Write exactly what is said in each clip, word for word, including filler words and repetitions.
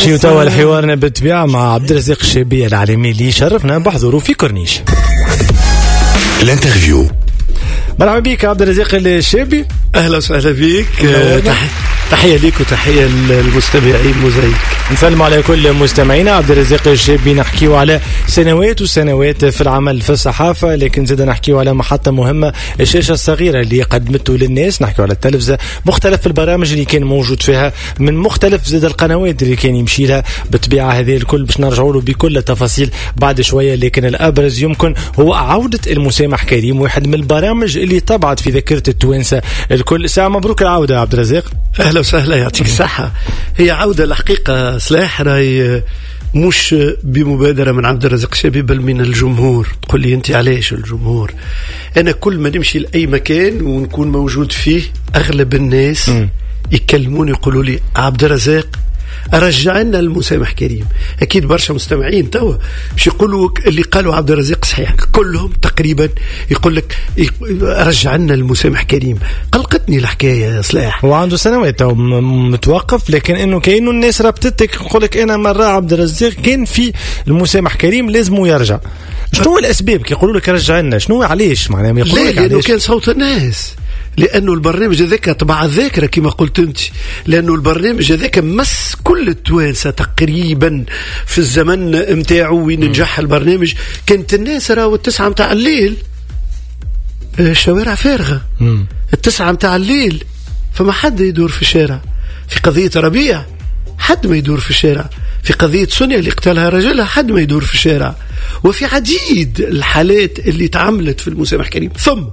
نمشيو توا لحوارنا بالطبيعة مع عبد الرزاق الشابي العالمي اللي شرفنا بحضوره في كورنيش. L'interview. مرحبا بك عبد الرزاق الشابي. اهلا وسهلا بك، تحية ليك وتحية للمستمعين موزايك. نسلم على كل مستمعينا. عبد الرزاق الشابي، نحكيو على سنوات وسنوات في العمل في الصحافة، لكن زاد نحكيو على محطة مهمة، الشاشة الصغيرة اللي قدمته للناس، نحكيو على التلفزة، مختلف البرامج اللي كان موجود فيها، من مختلف زاد القنوات اللي كان يمشي لها. بالطبيعة هذه الكل باش نرجعوا له بكل التفاصيل بعد شوية، لكن الأبرز يمكن هو عودة المسامح كريم، واحد من البرامج اللي طبعت في ذاكرة التوانسة الكل. ساعة مبروك العودة يا عبد الرزاق. أهلا وسهلا، يعطيك الصحة. هي عودة الحقيقة صلاح راي مش بمبادرة من عبد الرزاق الشابي بل من الجمهور. تقول لي أنت علاش الجمهور؟ أنا كل ما نمشي لأي مكان ونكون موجود فيه أغلب الناس م. يكلموني يقولوا لي عبد الرزاق رجع لنا المسامح كريم. اكيد برشا مستمعين توا باش يقولوا اللي قالوا عبد الرزاق صحيح، كلهم تقريبا يقول لك رجع لنا المسامح كريم. قلقتني الحكاية يا صلاح، هو عنده سنوات تو متوقف، لكن انه كاينه الناس ربطتك يقول لك انا مرة عبد الرزاق كان في المسامح كريم لازم يرجع. شنو الاسباب كي يقولوا لك رجع لنا؟ شنو علاش معناها يقولوا لك؟ لانه كان صوت الناس، لأنه البرنامج هذاك طبع الذاكرة كما قلت أنت، لأنه البرنامج هذاك مس كل التوانسة تقريبا في الزمن متاعه وين نجح البرنامج. كانت الناس راهو التسعة متاع الليل الشوارع فارغة، مم. التسعة متاع الليل فما حد يدور في الشارع. في قضية ربيع حد ما يدور في الشارع، في قضية سونيا اللي قتلها رجلها حد ما يدور في الشارع، وفي عديد الحالات اللي تعملت في المسامح كريم. ثم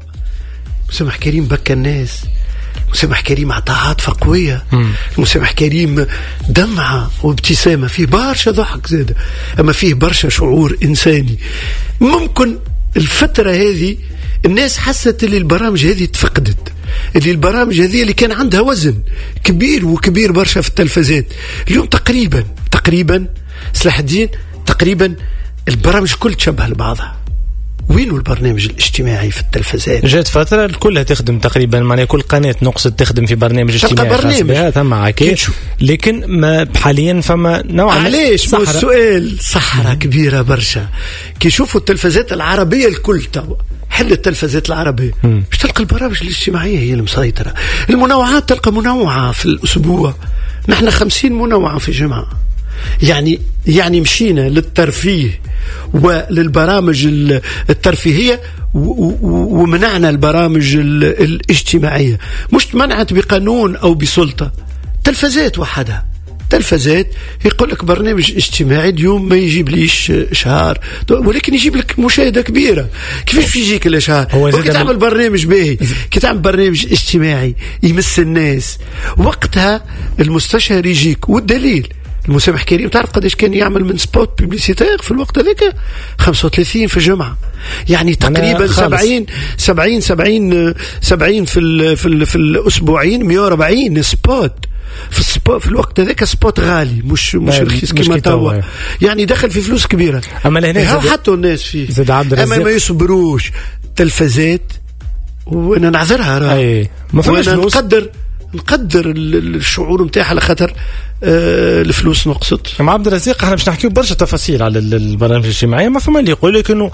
المسامح كريم بكى الناس، المسامح كريم عطى عاطفة قوية، المسامح كريم دمعة وابتسامة، فيه برشا ضحك زاد، أما فيه برشا شعور إنساني. ممكن الفترة هذه الناس حست اللي البرامج هذه تفقدت، اللي البرامج هذه اللي كان عندها وزن كبير وكبير برشا في التلفزات. اليوم تقريبا تقريبا سلاح الدين تقريبا البرامج كل تشبه لبعضها. وين البرنامج الاجتماعي في التلفزات؟ جات فترة كلها تخدم تقريبا، معناها كل قناة نقصد تخدم في برنامج اجتماعي برنامج بها ثم عكيد، لكن ما حاليا فما نوعا علاش السؤال صحراء كبيرة برشا. كي يشوفوا التلفزات العربية الكل توا حل التلفزات العربية باش تلقى البرامج الاجتماعية هي المسيطرة. المنوعات تلقى منوعة في الأسبوع، نحن خمسين منوعة في جمعة. يعني يعني مشينا للترفيه وللبرامج الترفيهية ومنعنا البرامج الاجتماعية. مش منعت بقانون أو بسلطة، تلفزات وحدها. تلفزات يقول لك برنامج اجتماعي اليوم ما يجيب ليش اشهار، ولكن يجيب لك مشاهده كبيرة. كيفاش يجيك الاشهار؟ كي تعمل برنامج باهي، كي تعمل برنامج اجتماعي يمس الناس، وقتها المستشهر يجيك. والدليل المسامح كريم تعرف قداش كان يعمل من spot publicitaire في الوقت هذاك؟ خمسة وثلاثين في الجمعة، يعني تقريبا سبعين سبعين سبعين سبعين في ال في ال في الاسبوعين، مية وأربعين spot في ال spot في الوقت هذاك. spot غالي مش مش رخيص كما توا، يعني دخل في فلوس كبيرة. اما لهنا حطوا الناس فيه، اما ما يصبروش تلفزات، وانا نعذرها راه ما فماش فلوس. نقدر نقدر الشعور نتاعها على خاطر آه الفلوس نقصت. مع عبد الرزاق احنا باش نحكيو برشا تفاصيل على البرامج الاجتماعية. ما فما اللي يقول لك انه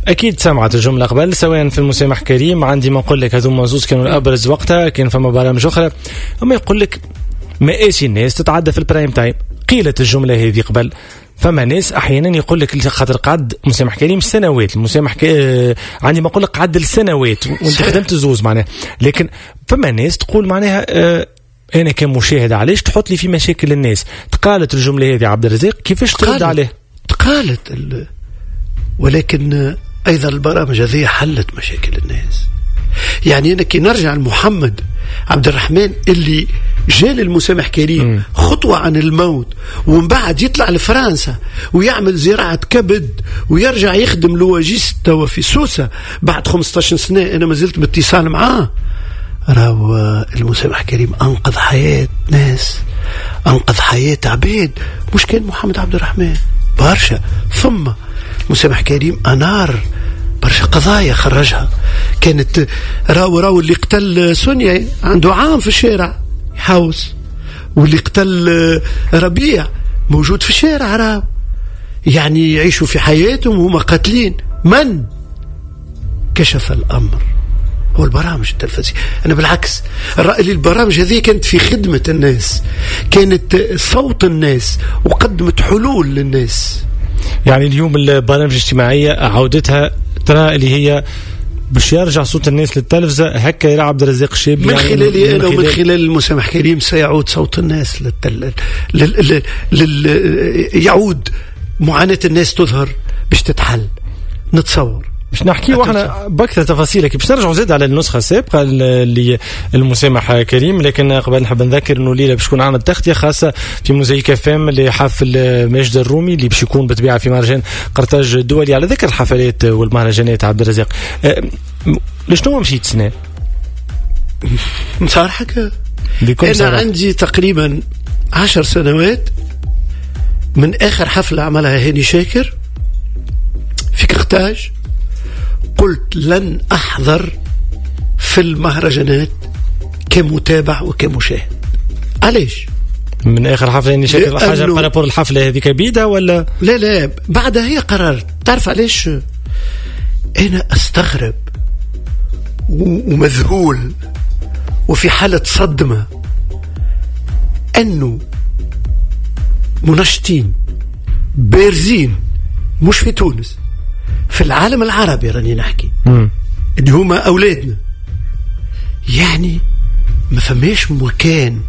اكيد سمعت الجملة قبل، سواء في المسامح كريم عندي ما نقول لك هذوما زوز كانوا الابرز وقتها، كان فما برامج اخرى. اما يقول لك مآسي الناس تتعدى في ال prime time، قيلت الجملة هذه قبل. فما ناس احيانا يقول لك خاطر قعد مسامح كريم سنوات، المسامح ك... عندي ما نقول لك قعد السنوات وانت خدمت زوز معناها، لكن فما ناس تقول معناها آه انا كمشاهد علاش تحط لي في مشاكل الناس؟ تقالت الجملة هذه عبد الرزاق، كيفاش ترد عليه؟ تقالت ال... ولكن ايضا البرامج هذه حلت مشاكل الناس. يعني انا كي نرجع لمحمد عبد الرحمن اللي جال المسامح كريم خطوة عن الموت، ومن بعد يطلع لفرنسا ويعمل زراعة كبد ويرجع يخدم louagiste توا في سوسة بعد خمسة عشر سنة، أنا ما زلت باتصال معاه. راهو المسامح كريم أنقذ حياة ناس، أنقذ حياة عباد، مش كان محمد عبد الرحمن برشا. ثم مسامح كريم أنار برشا قضايا خرجها. كانت راو راو اللي قتل سونيا عنده عام في الشارع يحوس، واللي قتل ربيع موجود في الشارع، راه يعني يعيشوا في حياتهم وهم قاتلين. من كشف الأمر؟ هو البرامج التلفزيونية. أنا بالعكس الرأي البرامج هذه كانت في خدمة الناس، كانت صوت الناس وقدمت حلول للناس. يعني اليوم البرامج الاجتماعية عودتها ترى اللي هي باش يرجع صوت الناس للتلفزة، هكا يرى عبد الرزاق الشابي من يعني خلالي أنا ومن خلال المسامح كريم سيعود صوت الناس للتل... لل... لل... يعود معاناة الناس تظهر باش تتحل. نتصور باش نحكي واحنا باكثر تفاصيلك باش نرجعوا زاد على النسخة السابقة اللي المسامح كريم، لكن قبل نحب نذكر انه الليلة باش تكون عندنا تغطيه خاصة في موزايك اف ام لحفل ماجد الرومي اللي باش يكون بالطبيعة في مهرجان قرطاج الدولي. على ذكر الحفلات والمهرجانات عبد الرزاق، لشنو مشيت سنة؟ نصارحك انا صراحة. عندي تقريبا عشر سنوات من اخر حفلة عملها هاني شاكر في قرطاج، قلت لن أحضر في المهرجانات كمتابع وكمشاهد. علاش؟ من آخر حفلة يعني شاكر حاجة par rapport الحفلة هذيك بيدها ولا؟ لا لا، بعدها هي قررت. تعرف علاش؟ أنا أستغرب ومذهول وفي حالة صدمة أنه منشطين بارزين مش في تونس، في العالم العربي راني نحكي، اللي هما أولادنا، يعني ما فماش مكان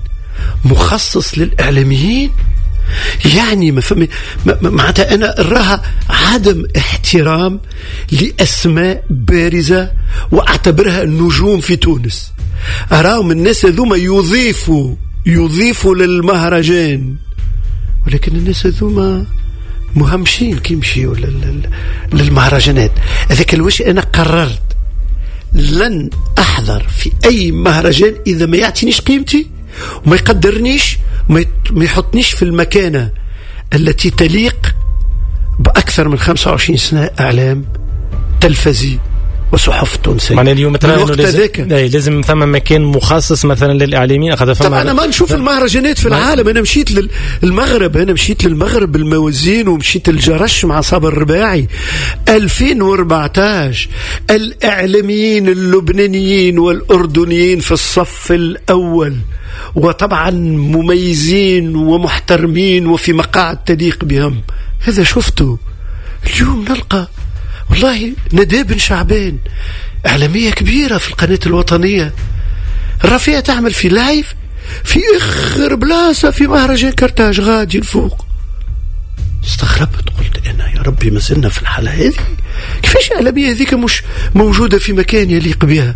مخصص للإعلاميين. يعني ما فما معناتها أنا راها عدم احترام لأسماء بارزة وأعتبرها النجوم في تونس. أراهم الناس هذوما يضيفوا يضيفوا للمهرجان، ولكن الناس هذوما مهمشين كي يمشيوا للمهرجانات. هذاك الوش أنا قررت لن أحضر في أي مهرجان إذا ما يعطينيش قيمتي وما يقدرنيش وما يحطنيش في المكانة التي تليق بأكثر من خمسة وعشرين سنة إعلام تلفزي وصحف تونسية. معناها اليوم ترى لازم, لازم ثم مكان مخصص مثلا للاعلاميين. طبعا انا ما نشوف المهرجانات في العالم. انا مشيت للمغرب، انا مشيت للمغرب الموازين ومشيت الجرش مع صابر الرباعي ألفين وأربعة عشر. الاعلاميين اللبنانيين والاردنيين في الصف الاول، وطبعا مميزين ومحترمين وفي مقاعد تليق بهم. هذا شفته. اليوم نلقى والله ندى بن شعبان إعلامية كبيرة في القناة الوطنية الرفيعة تعمل في live في آخر بلاصة في مهرجان كرتاج غادي الفوق. استغربت، قلت أنا يا ربي ما زلنا في الحالة هذه، كيفاش الإعلامية هذيك مش موجودة في مكان يليق بها؟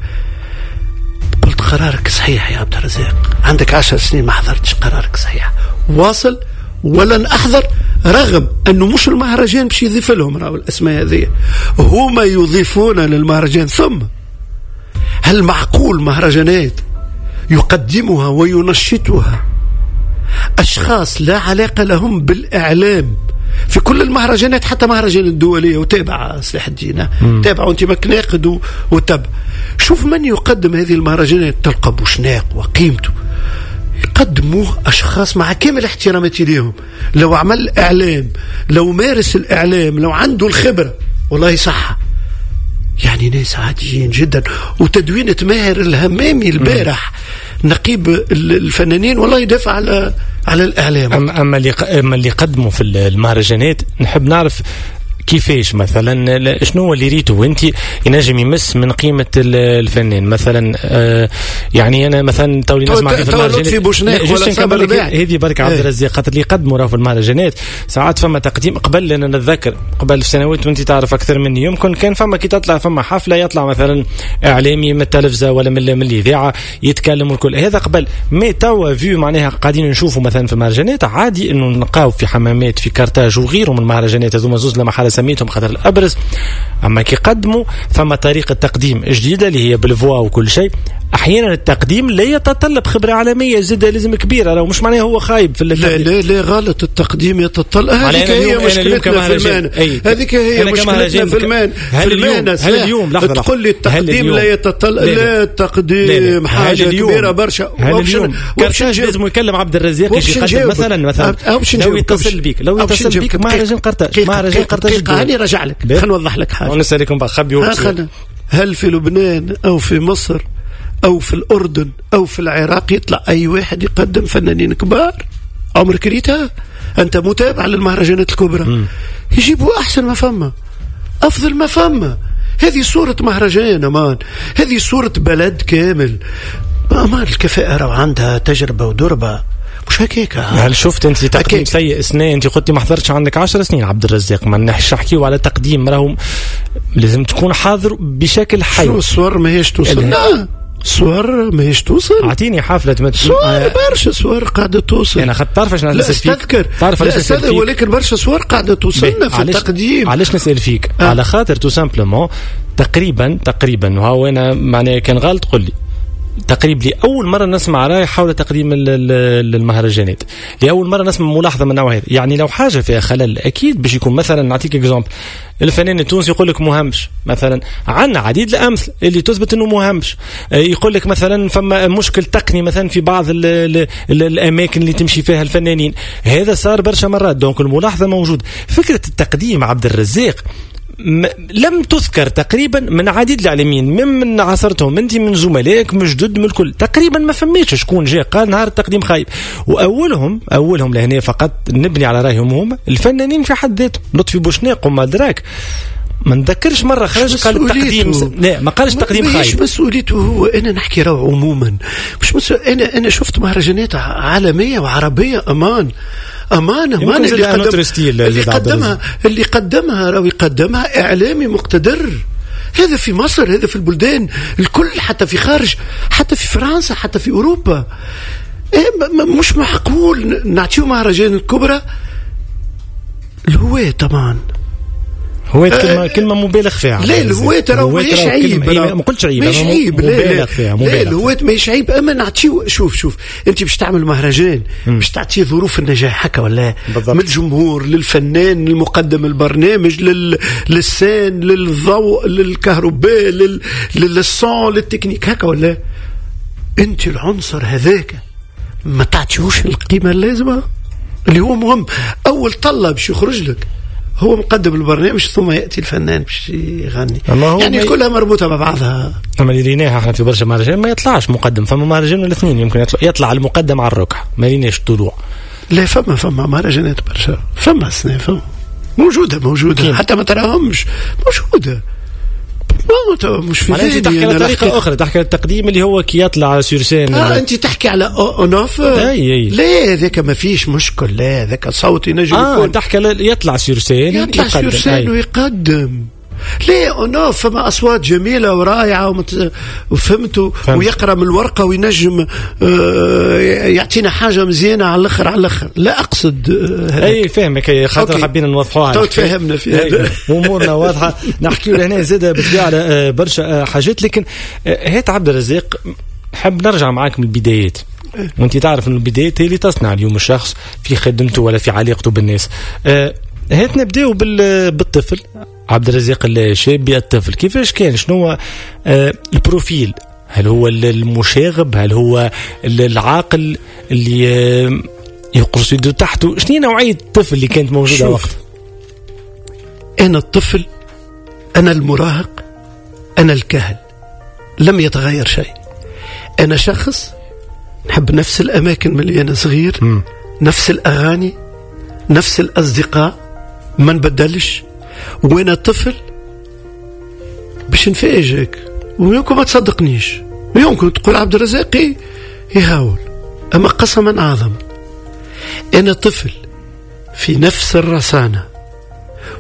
قلت قرارك صحيح يا عبد الرزاق، عندك عشر سنين ما حضرتش، قرارك صحيح، واصل ولن أحضر. رغم أنه مش المهرجان باش يضيف لهم، راهو الأسماء هذه هما يضيفون للمهرجان. ثم هل معقول مهرجانات يقدمها وينشطها أشخاص لا علاقة لهم بالإعلام في كل المهرجانات، حتى مهرجان الدولية وتابع سلاح الدين، تابع وانت مكناقد وتابع. شوف من يقدم هذه المهرجانات، تلقى بوشناق وقيمته يقدموه أشخاص مع كامل احتراماتي ليهم، لو عمل إعلام، لو مارس الإعلام، لو عنده الخبرة، والله صح. يعني ناس عاديين جدا. وتدوينة ماهر الهمامي البارح نقيب الفنانين والله يدافع على على الإعلام. أما اللي أما اللي قدموا في المهرجانات نحب نعرف كيفاش مثلا، شنو هو اللي ريته وانت ينجم يمس من قيمة الفنان مثلا؟ آه يعني انا مثلا تولي نسمع في المهرجانات هذه برك عبد الرزاق، خاطر اللي قدموا راه في المهرجانات ساعات فما تقديم قبل، انا نتذكر قبل في سنوات وانت تعرف اكثر مني، يمكن كان فما كي تطلع فما حفلة يطلع مثلا اعلامي من التلفزة ولا من الاذاعة يتكلم والكل هذا قبل. mais توا vu معناها قاعدين نشوفوا مثلا في المهرجانات عادي انه نلقاو في حمامات في كارتاج وغيره من المهرجانات هذوما زوز لما حالة سميتهم خاطر الابرز، اما كي قدموا فما طريقه تقديم جديدة اللي هي بال voix وكل شيء. احيانا التقديم لا يتطلب خبره عالمية زاد لازم كبيرة، لو مش معناه هو خايب في التقديم. لا لا لا غلط، التقديم يتطلب. هذيك هي مشكلتنا في المهنة، هذيك هي مشكلتنا في المهنة. هل اليوم هل اليوم لحظة تقول لي التقديم لا يتطلب؟ لا، التقديم حاجة كبيرة برشا. هل اليوم كرتاج لازم يكلم عبد الرزاق يجي يقدم مثلا مثلا لو يتصل بيك لو يتصل بيك مهرجان قرطاج مهرجان قرطاج هاني رجع لك، خلينا نوضح لك حاجة ونسالكم بقى خبي. هل في لبنان او في مصر أو في الأردن أو في العراق يطلع أي واحد يقدم فنانين كبار؟ عمرك ريتها؟ أنت متابع للمهرجانات الكبرى. م. يجيبوا أحسن ما فما، أفضل ما فما. هذه صورة مهرجان أمان، هذه صورة بلد كامل. أمان الكفاءة راهو عندها تجربة ودربة، مش هكاك. هل شفت انت تقديم سيء سنة؟ انت قلت ما حضرتش عندك عشر سنين عبد الرزاق، ما نحش نحكيو على تقديم، راهو لازم تكون حاضر بشكل حي. شو الصور ماهيش توصل؟ لا صور ماهيش توصل. اعطيني حفلة مت... صور آه... برشا صور قاعدة توصل. انا خاطر تعرف علاش نسال فيك؟ استذكر تعرف علاش نسال فيك؟ ولكن برشا صور قاعدة توصلنا في التقديم. علاش نسال فيك؟ آه. على خاطر tout simplement تقريبا تقريبا وهو انا معناها كان غلط قل لي، تقريبا لأول مرة نسمع رأي حول تقديم المهرجانات، لأول مرة نسمع ملاحظة من النوع هذا. يعني لو حاجة فيها خلل أكيد باش يكون مثلا، نعطيك exemple، الفنان التونسي يقول لك مهمش مثلا، عندنا عديد الأمثلة اللي تثبت أنه مهمش. يقول لك مثلا فما مشكل تقني مثلا في بعض ال ال ال الأماكن اللي تمشي فيها الفنانين، هذا صار برشا مرات. donc الملاحظة موجود. فكرة التقديم عبد الرزاق لم تذكر تقريبا من عديد الاعلاميين من عاصرتهم انت، من زملائك، من جدد، من الكل تقريبا ما فماش شكون جاء قال نهار التقديم خايب. واولهم اولهم لهنا فقط نبني على رايهم هم الفنانين في حد ذاتهم، لطفي بوشناق وما دراك، ما نذكرش مرة خرج قال التقديم س... لا ما قالش تقديم خايب. مش مسؤوليته هو، انا نحكي راهو عموما مش مسؤول. انا انا شفت مهرجانات عالمية وعربية امان امان امان اللي, قدم... اللي قدمها اللي قدمها راهو يقدمها اعلامي مقتدر. هذا في مصر، هذا في البلدان الكل، حتى في خارج، حتى في فرنسا، حتى في اوروبا. مش معقول نعطيو مهرجان الكبرى الهواة. طبعا هواة كلمة كلمة مبالغ فيها. لا الهواة راه ماهيش عيب، ما قلتش عيب، ماهيش عيب، مبالغ فيها، لا الهواة ماهيش عيب. اما نعطيو، شوف شوف انت باش تعمل مهرجان باش تعطيه ظروف النجاح هكا ولا، من الجمهور للفنان المقدم البرنامج لل... لل scène للضوء للكهرباء لل... لل son لل technique هكا ولا. انت العنصر هذاك ما تعطيوش القيمة اللازمة اللي هو مهم. اول طلة باش يخرج لك هو مقدم البرنامج، ثم يأتي الفنان باش يغني. يعني كلها مربوطة مع بعضها. أما اللي ريناها احنا في برشا مهرجان ما يطلعش مقدم، فما مهرجان ولا اثنين يمكن يطلع, يطلع المقدم على الركح، ما ريناش طلوع. لا فما فما مهرجانات برشا، فما سنة فما موجودة موجودة كين. حتى ما تراهمش موجودة. مش في انت تحكي على طريقه اخرى، تحكي على التقديم اللي هو كي يطلع sur scène. اه انت تحكي على en off. اي لا هذاك ما فيش مشكل، لا هذاك صوت ينجم آه يكون. تحكي على يطلع sur scène، يطلع sur scène ويقدم. لا en off فما اصوات جميلة ورائعة ومت... وفهمتوا، ويقرا من الورقة وينجم آه يعطينا حاجة مزيانه على الاخر على الاخر. لا اقصد آه اي فاهمك، خاطر حابين نوضحوها تو تفهمنا في هذا، امورنا واضحة. نحكيو لهنا زاد بالطبيعة على برشا حاجات، لكن هات عبد الرزاق حاب نرجع معاك من البدايات. وانت تعرف ان البدايات هي اللي تصنع اليوم الشخص في خدمته ولا في علاقته بالناس. هات نبداو بالطفل عبد الرزاق الشابي. الطفل كيفاش كان؟ شنو ال profil؟ هل هو المشاغب؟ هل هو العاقل اللي يقرص يده تحته؟ شنو نوعية الطفل اللي كانت موجودة وقت؟ أنا الطفل، أنا المراهق، أنا الكهل، لم يتغير شيء. أنا شخص نحب نفس الأماكن من اللي أنا صغير، م. نفس الأغاني، نفس الأصدقاء، ما نبدلش. وانا طفل باش نفاجئك ويمكن ما تصدقنيش، ويمكن تقول عبد الرزاق يهاول، اما قسما اعظم انا طفل في نفس الرصانه،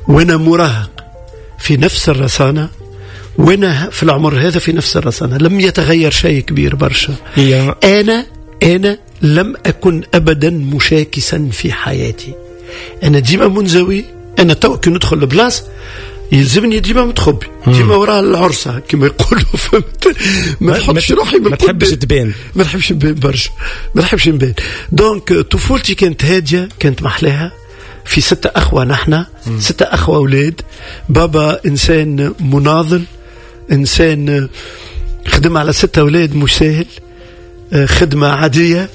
وانا مراهق في نفس الرصانه، وانا في العمر هذا في نفس الرصانه، لم يتغير شيء كبير برشا. انا انا لم اكن ابدا مشاكسا في حياتي، انا ديما منزوي، انا تو كي ندخل البلاص يلزمني ديما متخبي، ديما وراء العرسه كما يقولوا، فهمت؟ ما نحبش روحي، ما تحبش تبان، ما نحبش نبان برشا، ما نحبش نبان. donc طفولتي كانت هادية، كانت محلاها. في ستة أخوة نحن، ستة أخوة أولاد. بابا إنسان مناضل، إنسان خدم على ستة أولاد مش ساهل، خدمة عادية،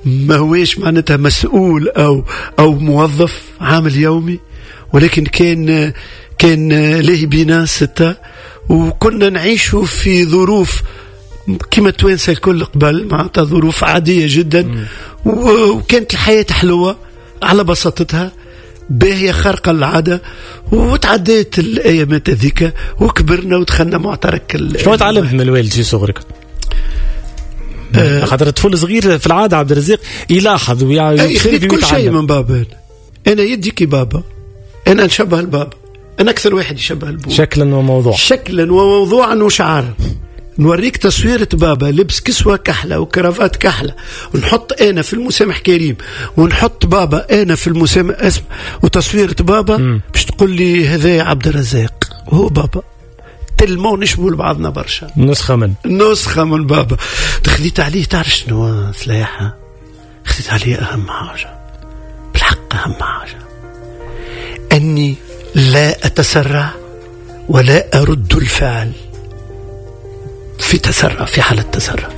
ما هوش معناتها مسؤول أو أو موظف عامل يومي، ولكن كان كان لاهي بينا ستة، وكنا نعيش في ظروف كما التوانسة الكل قبل، معناتها ظروف عادية جدا، وكانت الحياة حلوة على بساطتها، باهية خارقة للعادة. وتعديت الأيامات هذيك وكبرنا ودخلنا معترك. شنو تعلمت من الوالد في صغرك؟ آه خاطر الطفل صغير في العادة عبد الرزاق يلاحظ ويعني كل شيء من بابا. أنا يدي كي بابا، أنا نشبه البابا، أنا أكثر واحد يشبه البابا شكلا وموضوع، شكلا وموضوعا وشعارا. نوريك تصويرة بابا لبس كسوة كحلة وكرافات كحلة، ونحط أنا في المسامح كريم، ونحط بابا أنا في المسامح اسم وتصويرة بابا باش تقول لي هذا عبد الرزاق هو بابا. تلمو نشبهوا لبعضنا برشا، نسخة من نسخة من بابا. خذيت عليه تعرف شنو سلاحة؟ خذيت عليه أهم حاجة بالحق، أهم حاجة أني لا أتسرع ولا أرد الفعل في تسرع، في حالة تسرع.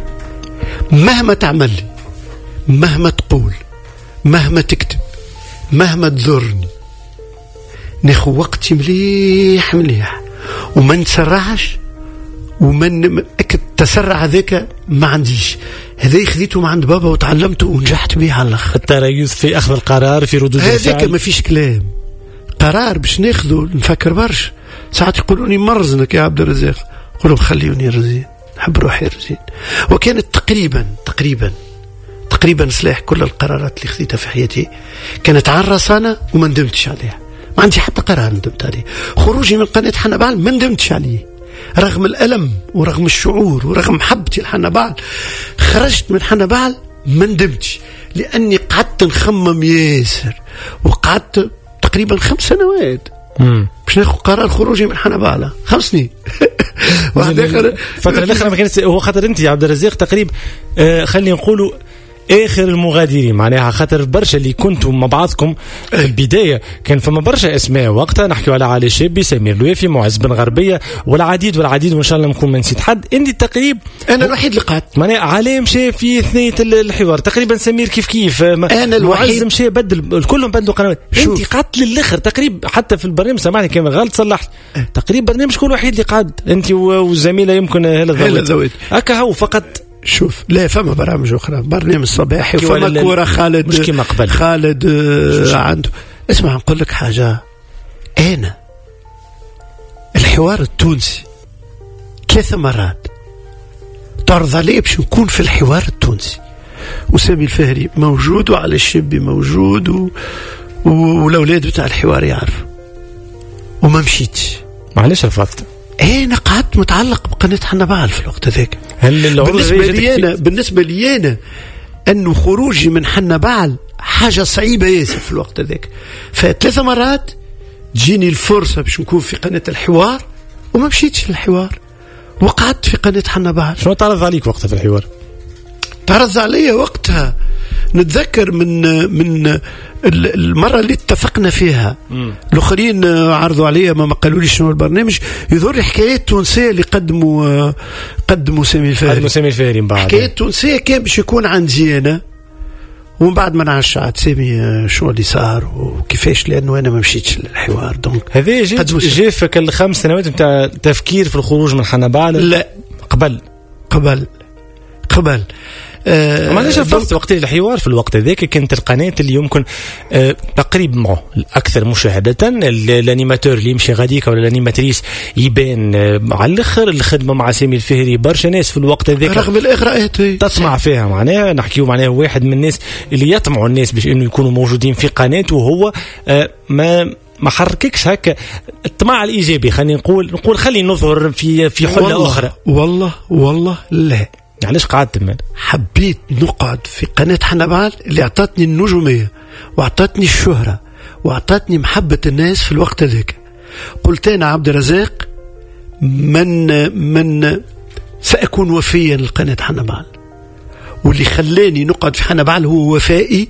مهما تعمل لي، مهما تقول، مهما تكتب، مهما تضرني، ناخو وقتي مليح مليح وما نتسرعش، ومن التسرع هذاك ما عنديش. هذا خذيته من عند بابا وتعلمته ونجحت به على الاخر. التريث في اخذ القرار، في ردود الفعل، هذاك ما فيش كلام. قرار باش ناخذه نفكر برشا. ساعات يقولوني مرزنك يا عبد الرزاق، نقول لهم خليوني رزين، نحب روحي رزين. وكانت تقريبا تقريبا تقريبا سلاح كل القرارات اللي خذيتها في حياتي كانت على الرصانه وما ندمتش عليها. ما عندي حتى قرار ندمت عليه. خروجي من قناة حنبعل ما ندمتش عليه، رغم الألم ورغم الشعور ورغم محبتي لحنبعل. خرجت من حنبعل ما ندمتش، لأني قعدت نخمم ياسر، وقعدت تقريبا خمس سنوات باش ناخذ قرار خروجي من حنبعل، خمس سنين. واحد اخر الفترة الاخرى ما كانت هو خاطر انت يا عبد الرزاق تقريبا آه خلينا نقولوا اخر المغادرين، معناها خاطر برشا اللي كنتوا مع بعضكم في البداية كان فما برشا اسماء وقتها، نحكيو على علي شابي، سمير الوافي، معز بن غربية، والعديد والعديد، وان شاء الله نكون ما نسيت حد. انت تقريبا انا الوحيد اللي قعدت، معناها علي مشى في ثنيه الحوار تقريبا، سمير كيف كيف، انا الوحيد معز مشى بدل، كلهم بدلوا قنوات، انت قعدت للاخر تقريبا. حتى في البرنامج سامحني كان غلط صلحت، تقريبا برنامج كل وحيد اللي قعد انت والزميله يمكن هلا الذوات هكا هو فقط. شوف لا فما برامج أخرى، برنامج صباحي وفما كورة خالد، مش كيما قبل خالد عنده. اسمع نقول لك حاجة، أنا الحوار التونسي ثلاث مرات تعرض علي باش نكون في الحوار التونسي، وسامي الفهري موجود وعلي الشابي موجود و... والأولاد بتاع الحوار يعرفوا، وما مشيتش. معلش رفضت؟ انا قعدت متعلق بقناة حنبعل في الوقت هذاك. بالنسبة لي أنا بالنسبة لي أنا أنه خروجي من حنبعل حاجة صعيبة ياسر في الوقت هذاك. فثلاث مرات تجيني الفرصة باش نكون في قناة الحوار وما مشيتش للحوار، وقعدت في قناة حنبعل. شنو تعرض عليك وقتها في الحوار؟ تعرض علي وقتها نتذكر من من المرة اللي اتفقنا فيها الآخرين عرضوا علي ما قالوا لي شنو البرنامج، يظهر لي حكايات تونسية اللي قدموا قدموا سامي الفهري، قدموا سامي الفهري من بعد حكايات تونسية كان باش يكون عندي أنا، ومن بعد ما نعرفش عاد سامي شو اللي صار وكيفاش، لأنه أنا ما مشيتش للحوار. donc هذا جا في الخمس سنوات نتاع تفكير في الخروج من حنبعل؟ لا قبل قبل قبل آه معليش رفضت وقت الحوار في الوقت هذاك كانت القناة اللي يمكن آه تقريبا معه الأكثر مشاهدة، ال animateur اللي يمشي غاديك ولا ال animatrice يبان آه على الآخر. الخدمة مع سامي الفهري برشا ناس في الوقت هذاك رغم الإغراءات تطمع فيها، معناها نحكيو معناها واحد من الناس اللي يطمعوا الناس باش إنه يكونوا موجودين في قناة، وهو آه ما ما حرككش هكا الطمع الإيجابي، خلينا نقول نقول خلي نظهر في في حلة والله أخرى. والله والله لا، علاش قعدت من؟ حبيت نقعد في قناة حنبعل اللي اعطتني النجومية واعطتني الشهرة واعطتني محبة الناس في الوقت هذاك. قلت انا عبد الرزاق من من ساكون وفيا لقناه حنبعل، واللي خلاني نقعد في حنبعل هو وفائي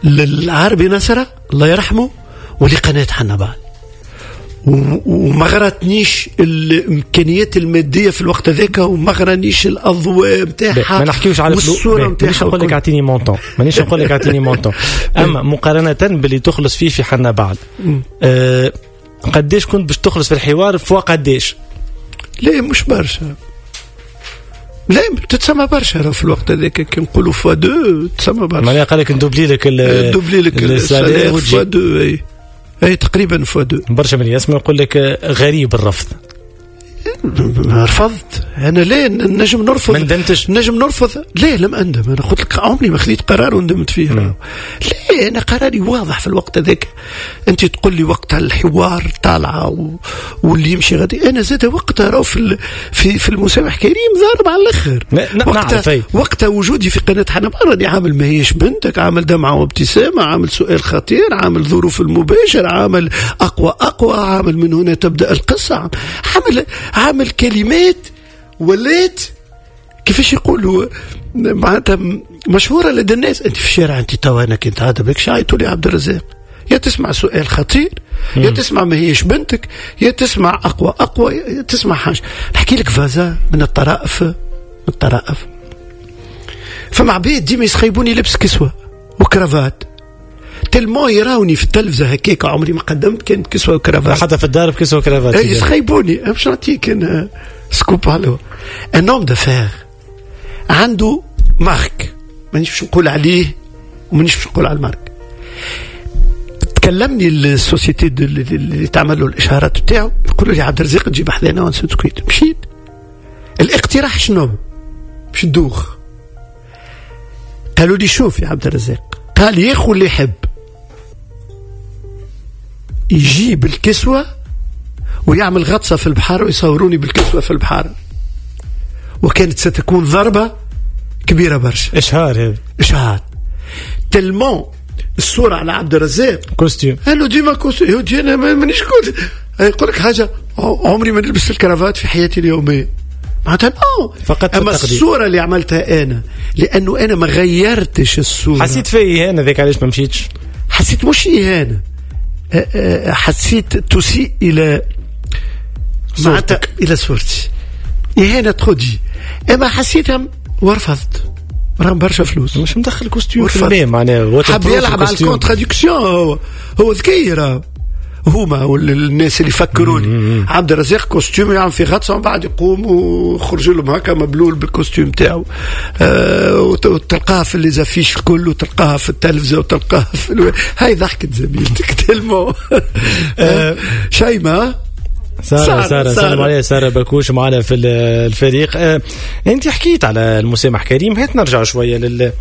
للعربي نصرة الله يرحمه ولقناه حنبعل، وما غرتنيش الامكانيات المادية في الوقت هذاك، وما غرانيش الاضواء نتاعها. ما نحكيوش على الصورة نتاعها، مانيش نقول لك اعطيني montant، مانيش نقول لك اعطيني montant، اما مقارنة باللي تخلص فيه في حنبعل أه قداش كنت باش تخلص في الحوار فوق قداش؟ لا مش برشا، لا تتسمى برشا في الوقت هذاك، كي نقولوا fois deux تسمى برشا. معناها قال لك ندوبلي لك ندوبلي لك ال salaire fois deux، اي اي تقريبا fois deux. برشا من يسمع يقول لك غريب الرفض. رفضت انا؟ لا نجم نرفض. ما ندمتش؟ نجم نرفض؟ لا لم اندم، انا قلت لك عمري ما خذيت قرار وندمت فيه. لا انا قراري واضح في الوقت هذاك. انت تقول لي وقت الحوار طالعه و... واللي يمشي غادي، انا زاد وقتها راهو في ال... في في المسامح كريم ضارب على الاخر. وقتها وقتها وجودي في قناة حنبعل راني عامل ما هيش بنتك، عامل دمعه وابتسامه، عامل سؤال خطير، عامل ظروف المباشر، عامل اقوى اقوى، عامل من هنا تبدا القصة، عامل عامل كلمات ولات كيفاش يقولوا معناتها مشهورة لدى الناس. انت في الشارع انت توا انا كنت عاد بك شعيتوا لي عبد الرزاق، يا تسمع سؤال خطير، يا تسمع ما هيش بنتك، يا تسمع اقوى اقوى، يا تسمع حاجة. نحكي لك فازا من الطرائف، من الطرائف. فما عباد ديما يسخيبوني لبس كسوه و cravate، tellement يراوني في التلفزة هكاك، عمري ما قدمت كانت كسوه وكرافات، حتى في الدار بكسوه وكرافات. اي يسخيبوني. باش نعطيك انا scoop على un homme d'affaires عنده marque، مانيش باش نقول عليه ومانيش باش نقول على ال marque. تكلمني ال société اللي تعمل له الاشهارات بتاعه، يقولوا لي عبد الرزاق تجيب حذانا ونسكويت. مشيت. الاقتراح شنو؟ باش تدوخ. قالوا لي شوف يا عبد الرزاق، قال ياخو اللي يحب يجيب الكسوة ويعمل غطسة في البحر ويصوروني بالكسوة في البحر، وكانت ستكون ضربة كبيرة برشا. إشهار هذا، إشهار tellement الصورة على عبد الرزاق costume، قالوا ديما costume. أنا مانيش كنت يقول لك حاجة، عمري ما نلبس الكرافات في حياتي اليومية معناتها non. فقط أما الصورة اللي عملتها أنا، لأنه أنا ما غيرتش الصورة. حسيت في إهانة ذيك، علاش ما مشيتش؟ حسيت مش إهانة، حسيت تسيء إلى صورتك، إلى صورتي، إهانة تخدي. أما حسيتها ورفضت. راهم برشا فلوس، مش مدخل costume في الماء معناها، حب يلعب على ال contradiction. هو هو ذكي راه، هما والناس اللي فكروا لي عبد الرزاق costume يعمل في غطسه ومن بعد يقوم ويخرج لهم هكا مبلول بال costume تاعو، أه وتلقاها في les affiches الكل، وتلقاها في التلفزة، وتلقاها في الو... هاي ضحكت زميلتك tellement. أه شيماء سارة سارة سلام عليها، سارة بكوش معنا في الفريق. أه انت حكيت على المسامح كريم، هات نرجع شوية لل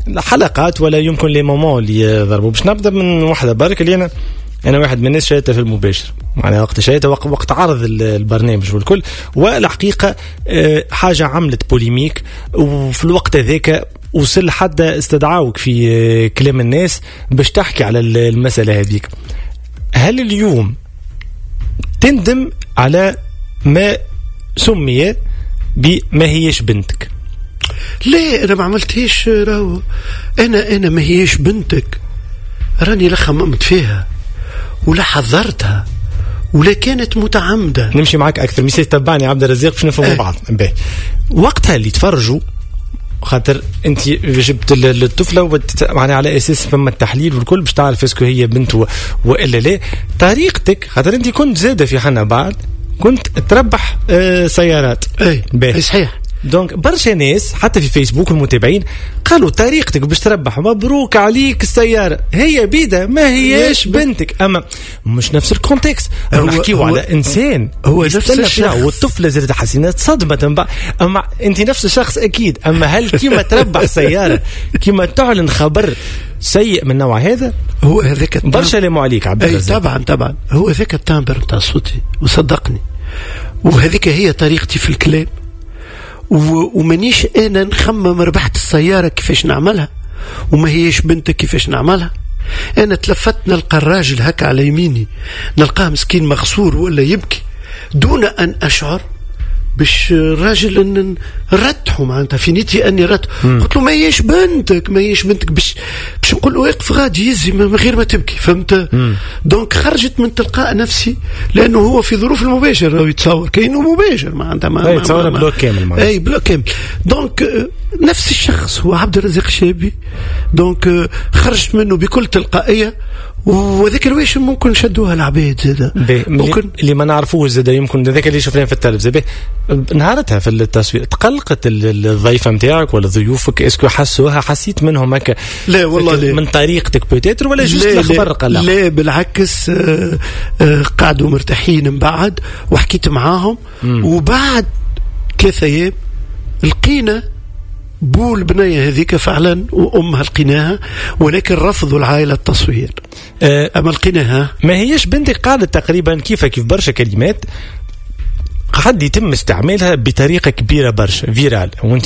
الحلقات ولا يمكن les moments اللي ضربوا. باش نبدا من واحدة برك اللي انا انا واحد من الناس شاهدتها في المباشر، معناها وقت شاهدتها وقت, وقت عرض البرنامج والكل، والحقيقة حاجة عملت polémique، وفي الوقت هذاك وصل حتى استدعاوك في كلام الناس باش تحكي على المسالة هذيك. هل اليوم تندم على ما سمي بما هيش بنتك؟ لا انا ما عملتهاش، راهو انا انا ما هيش بنتك، راني لا خممت فيها ولا حذرتها ولا كانت متعمدة. نمشي معك اكثر ميسي، تبعني عبد الرزاق باش نفهموا اه. بعض. باهي وقتها اللي تفرجوا، خاطر انت جبت الطفلة معناها على اساس فما التحليل والكل باش تعرف est-ce que هي بنت والا لا. طريقتك خاطر انت كنت زاده في حنبعل كنت تربح اه سيارات. اي باهي صحيح. donc برشا ناس حتى في فيسبوك المتابعين قالوا طريقتك باش تربح مبروك عليك السيارة، هي بيدا ما هياش بنتك. اما مش نفس ال contexte، نحكيو على انسان هو نفس الشخص والطفله زادت حسينات صدمة. اما انت نفس الشخص اكيد، اما هل كيما تربح سيارة كيما تعلن خبر سيء من نوع هذا؟ هو هذاك برشا لموا عليك عبد الرزاق. طبعا طبعا هو هذاك ال timbre نتاع صوتي وصدقني، وهذيك هي طريقتي في الكلام، ومانيش انا نخمم ربحت السيارة كيفاش نعملها وما هيش بنتك كيفاش نعملها. انا تلفت نلقى الراجل هكا على يميني، نلقاه مسكين مغصور ولا يبكي، دون ان اشعر باش الراجل نرتحه، معناتها في نيتي اني رتح. قلت له ما هيش بنتك، ما هيش بنتك، باش باش نقول له اقف غادي يزي من غير ما تبكي، فهمت؟ donc خرجت من تلقاء نفسي، لانه هو في ظروف المباشر يتصور كانه مباشر معناتها. ما يتصور bloc كامل. معناتها اي bloc كامل. donc نفس الشخص هو عبد الرزاق الشابي، donc خرجت منه بكل تلقائيه، وذاك الويش ممكن شدوها العباد زاد. ممكن اللي ما نعرفوش زاد، يمكن هذاك اللي شفناه في التلفزة. نهارتها في التصوير تقلقت الضيفه نتاعك ولا ضيوفك؟ est-ce que حسوها؟ حسيت منهم هكا؟ لا والله لا. من طريقتك peut-être ولا juste الخبر قلق؟ لا بالعكس، آه، آه، قعدوا مرتاحين من بعد وحكيت معاهم. مم. وبعد ثلاثة ايام لقينا بو البنية هذيك فعلا وامها لقيناها، ولكن رفضوا العائلة التصوير. أه اما لقيناها. ما هيش بنتك قالت تقريبا كيف كيف برشا كلمات قعد يتم استعمالها بطريقة كبيرة برشا، virale، وانت